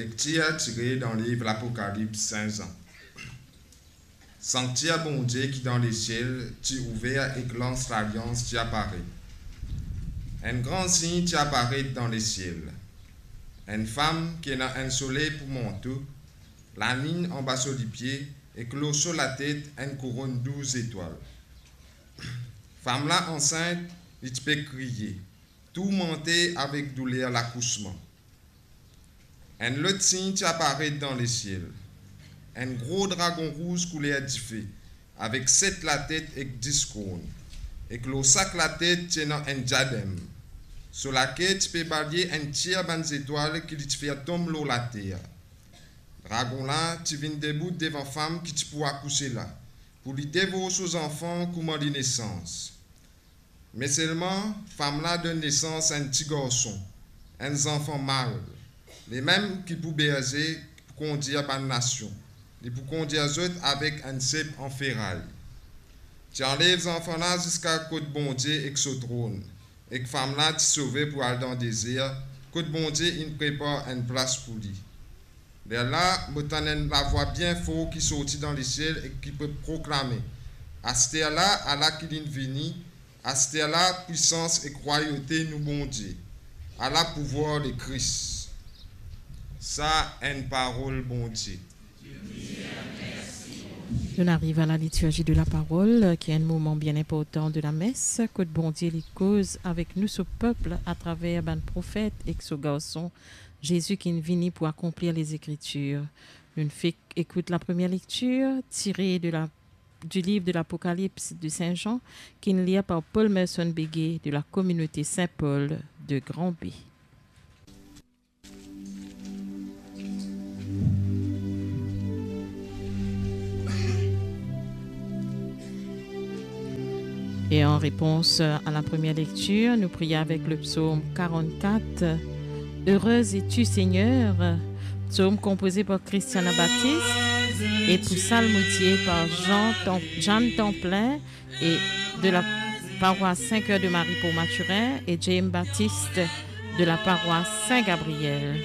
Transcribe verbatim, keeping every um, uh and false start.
Lektir tire dan liv Lapokalips Sin Zan. Sanktier Bondie ki dan lesiel ti ouver ek lans lalians ti aparet. Enn gran sign ti aparet dan lesiel. Enn fam ki ena enn soley pou manto, lalinn anba so lipie, ek lor so latet enn kouronn douz zetwal. Fam la ansint, li ti pe kriye, tourmante avek douler lakousman. Enn lot sign ti aparet dan lesiel. Enn gro dragon rouz kouler dife, avek set latet ek dis korn. Ek lor sak latet ti ena enn diadem. So lake ti pe balye enn tir bann zetwal ki li ti fer tom lor later. Dragon la ti vinn debout devan fam ki ti pou akouse la, pou li devor so zanfan kouma linesans. Me selman, fam la donn nesans a enn ti garson, enn zanfan mal, limem ki pou berze, pou kondir bann nasion, li pou kondir zot avek enn sep an feray. Ti anlev zanfan la ziska kot Bondie ek so tronn, ek fam la ti sove pou al dan dezer, kot Bondie inn prepar enn plas pou li. Lerla mo tann enn lavwa bien for ki sorti dan lesiel ek ki pe proklame, "Asterla, ala ki linn vini, asterla pwisans ek rwayote nou Bondie, ala pouvwar Lekris." Sa enn parol Bondie. Nous arrivons à la liturgie de la parole, qui est un moment bien important de la messe, kot Bondie li koz avek nou, so pep, atraver bann profet ek so garson Zezi ki vini pou akonplir Lezekritir. Nou fek ekout la première lecture tirée de la, du livre de l'Apocalypse de Saint Jean, qui est lue par Paul Merson Béguet de la communauté Saint-Paul de Grand-Baie. Et en réponse à la première lecture, nous prions avec le psaume quarante-quatre. Heureux es-tu, Seigneur, psaume composé par Christiana Baptiste et pour psalmodier par Jean Tem-, Jeanne Templin et de la paroisse Saint-Cœur de Marie pour Mathurin et James Baptiste de la paroisse Saint-Gabriel.